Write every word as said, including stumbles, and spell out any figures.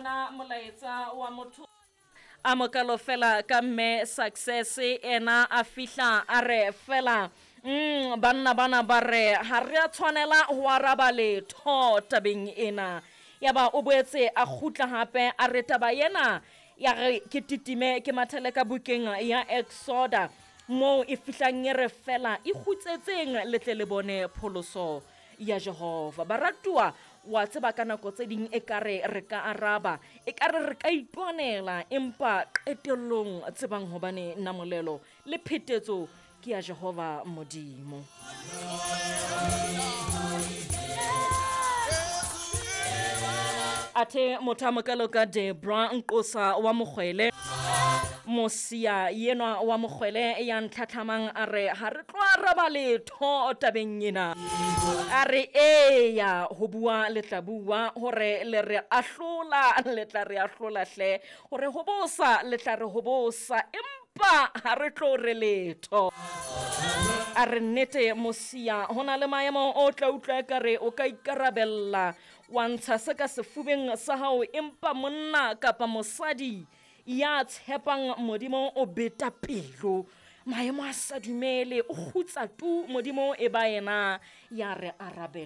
Bona molaetsa wa motho a mokalo fela ka mme Success ena a fihla a re fela mm, banna bana ba re ha re a tshwanela ho araba letho tabeng ena. Yaba o boetse a kgutla hape a re taba ena ya re ke titime ke mathele ka bukeng ya Exoda moo e fihlang e re fela e kgutsetseng le tle le bone pholoso ya Jehova. Baratuwa, wa tseba ka nako tse ding ekare re ka araba, ekare re ka itwanela, empa qetellong tsebang hobane namolelo le phetetso ke ya Jehova Modimo. Athe motho a mokalo ka Debra Nqosa wa Mokgwele, Mosia yenwa wa Mokgwele ya ntlhatlhamang a re ha re tlo araba letho tabeng ena. A re eya ho bua le tla bua, hore le re ahlola le tla re ahlola hle, hore ho bosa le tla re ho bosa, empa ha re tlo re letho. A re nnete Mosia, ho na le maemo o tla utlwa ekare o ka ikarabella wa ntsha se ka sefubeng sa hao, empa monna kapa mosadi ya tshepang Modimo o beta pelo. Maemo a sa dumele, o kgutsa tu, Modimo e ba yena ya re arabela.